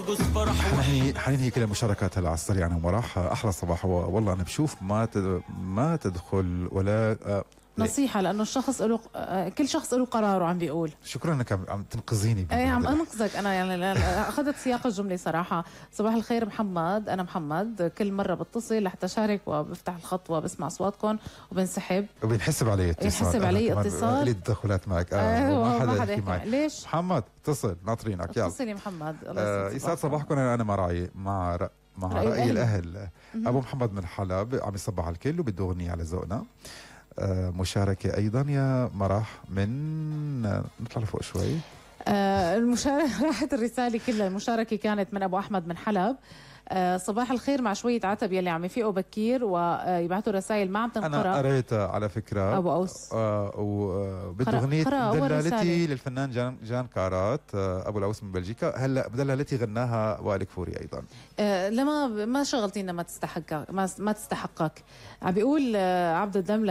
نرقص فرح. حننهي كل المشاركات هلا على السريع انا ومرح. احلى صباح. والله انا بشوف ما تدخل ولا نصيحة، لأنه الشخص له كل شخص له قراره. عم بيقول شكرا انك عم تنقذيني. ايه عم انقذك انا، يعني اخذت سياق الجملة صراحة. صباح الخير محمد، انا محمد، كل مرة بتصل لحتى شارك وبفتح الخط وبسمع اصواتكم وبنسحب وبنحسب علي اتصال. يحسب علي اتصال. لي تدخلات معك. ما حدا يحكي معك. ليش محمد اتصل ناطرينك. يلا اتصل يا محمد. يسعد صباحكم. انا مع رأي الأهل. أبو محمد من حلب عم يصبح على الكل وبده أغنية على ذوقنا. مشاركة أيضا يا مرح من نطلع لفوق شوي. المشاركة راحت الرسالة كلها. المشاركة كانت من أبو أحمد من حلب. صباح الخير مع شوية عتب يلي عم يفيقوا بكير ويبعثوا رسائل ما عم تنقرأ. أنا قريتها على فكرة أبو أوس. وبده أغنية دلالتي للفنان جان كارات أبو الأوس من بلجيكا. هلا دلالتي غناها وائل كفوري أيضا. لما ما شغلتينا ما تستحقك. عم بيقول عبد الدم